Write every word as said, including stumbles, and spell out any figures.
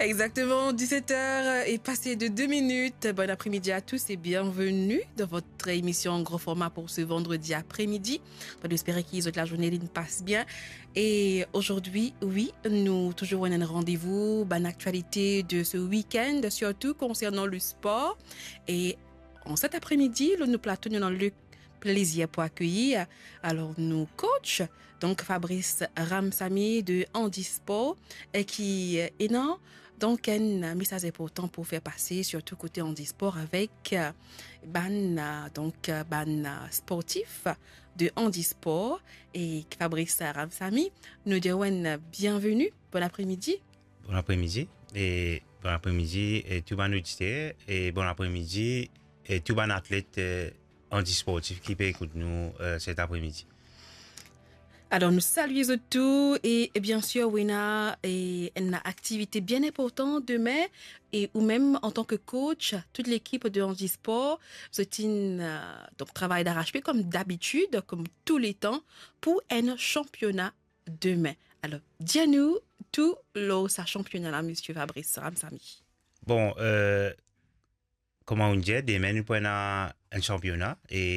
Exactement, dix-sept heures est passé de deux minutes. Bon après-midi à tous et bienvenue dans votre émission en grand format pour ce vendredi après-midi. Nou espere ki zot lazourne li pas bien. Et aujourd'hui, oui, nou touzour ena enn randevou, bann aktialite de ce week-end, surtout concernant le sport. Et en cet après-midi, nou plato, nou ena le plaisir pour accueillir alors nou coach, donc Fabrice Ramsamy de Handisport, e ki, euh, ena donc enn mesaz inportan pou fer pase, surtout kote handisport avek, euh, bann, euh, donc, euh, bann, euh, sportif de handisport. E Fabrice Ramsamy, nou dir ou enn bienveni, bon après-midi. Bon après-midi, e bon après-midi, e tou bann oditer, e bon après-midi, e tou bann atlet, e, handisportif ki pe ekout nou, e, cet après-midi. Alors, nou salie zot tou e, e bien sûr, ou ena, e, enn aktivite bien inportan demin, e ou mem, an tan ke coach, tout lekip de Handisport, zot inn, euh, donc, travay d'arrache-pied, comme d'habitude, comme tous les temps, pour un championnat demin. Alors, dir nou tou lor sa championnat-la, monsieur Fabrice Ramsamy. Bon, euh, kouma ou dir, demin nou pou ena enn championnat, e